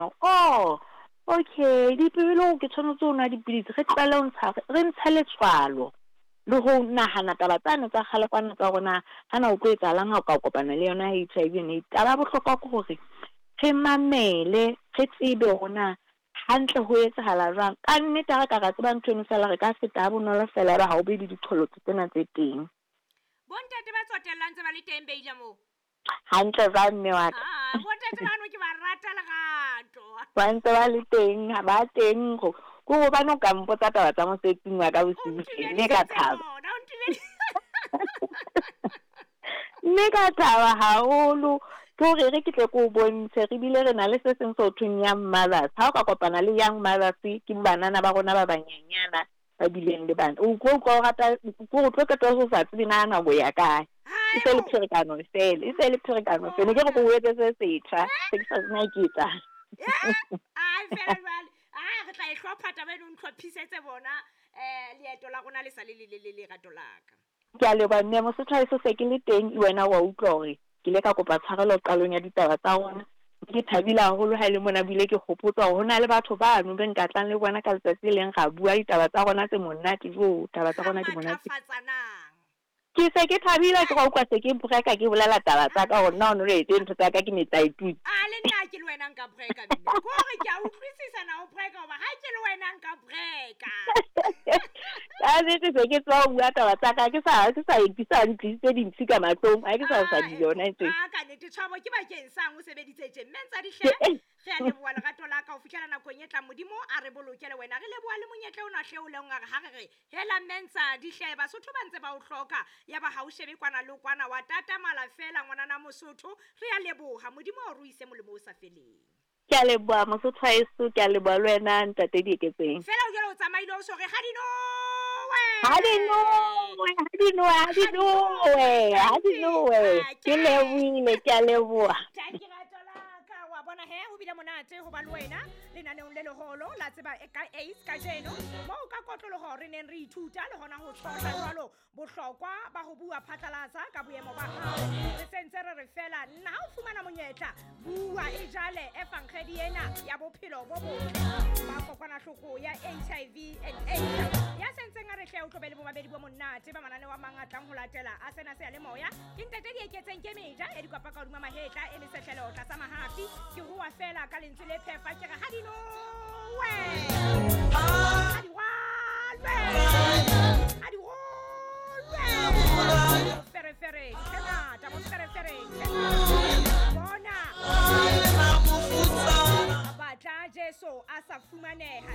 Oh, okay, dipele ke tshwanetse ho nwa dipidisi, re tlohele ho ntsha, re ntshe letswalo le ho nahana taba tsane tsa kgale kwana tsa hore na hana o tlo etsahalang ha o ka kopana le yona HIV and AIDS. Taba ya bohlokwa ke hore re mamele, re tsebe hore na hantle ho etsahala jwang. Ka nnete ha re ka ra tseba ntho eno fela, re ka feta ha bonolo fela ebe ha o be le diqholotso tsena tse teng. Bontate ba tsotellang tse ba le teng Beila moo. Hantle jwang mme wa ka? Ah, bontate bano ke ba rata lerato. Ba ntse ba le teng, ha ba teng go. Ke hobane o ka mpotsa taba tsa mosebetsing wa ka bosiu tje, mme ka thaba. Mme ka thaba haholo. Ke hore re ke tle ke o bontshe, re bile re na le se seng se ho thweng young mothers. Ha o ka kopana le young mothers, ke banana ba rona ba banyenyana ba bileng le bana. O tlo utlwa o rata, ke hore o tlo qetella o sa tsebe na nako ya kae. E se le pherekano fela, e se le pherekano fela. Ke re ke o etse se setjha, se ke sa tsebe na ke etsang. Ai fela jwale, a re tla e hlopha taba eno, o ntlhophisetse bona leeto la rona le sa le lelelele lerato la ka. Ke a leboha mme Mosotho haeso se ke le teng, le wena wa utlwa hore ke ile ka kopa tshwarelo qalong ya ditaba tsa rona. Ke thabile haholo ha e le mona bile ke hopotswa hore ho na le batho bano be nka tlang le bona ka letsatsi le leng ra bua ditaba tsa rona tse monate. Jo, taba tsa rona di monate. Ke se ke thabile ke ra utlwa se ke breka ke bolela taba tsa ka hore nna o no le etse ntho tsa ka ke metlaetutswe. A le nna ke le wena nka breka mme. Ke hore ke a utlwisisa na o breka hoba ha ke le wena nka breka. Ka nnete se ke tswa ho bua taba tsa ka ke sa ke sa ke sa ntlisitse dintshi ka mahlong ha ke sa sa di yona e tse. A ka nnete tshwabo ke bakeng sang o sebeditse tje mme ntsa di hle. Re a leboha lerato la ka ho fihlela nakong e tlang Modimo a re boloke le wena. Re leboha le monyetla ona hle o leng wa re ha re re hela mme ntsa di hle Basotho ba ntse ba o hloka ya ba ha o shebe kwana le kwana wa tatamala fela ngwanana Mosotho. Re a leboha Modimo a o ruise molemo o sa feleng. Ke a leboha Mosotho haeso, ke a leboha le wena ntate Dieketseng. Fela o jwale o tsamaile o so re ha di nowe. Ha di nowe, ha di nowe, ha di nowe, ha di nowe. Ke lebohile, ke a leboha. Thank you rato la ka wa bona he ho bile monate ho ba le wena lenaneong le leholo la tseba ka AIDS kajeno moo ka kotloloho re neng re ithuta le hona ho tshohla jwalo bohlokwa ba ho bua phatlalatsa ka boemo ba hao. Re sentse re re fela nna ha o fumana monyetla bua e jale evangedi ena ya bophelo bo botle ba kokwanahloko ya HIV and AIDS ya sentseng a re hle o tlo be le bomamedi bo monate ba mananeo a mang a tlang ho latela a sena seyalemoya. Ke ntate Dieketseng ke meja ya dikwapa ka hodima mahetla e mesehlelo tlasa mahafi. Ke rua fela ka lentswe le phefa ke re ha di nowe, ha di rwalwe, ha di rolwe. Moferefere ke ngata, moferefere ke ngata. Bona batla Jesu a sa fumaneha.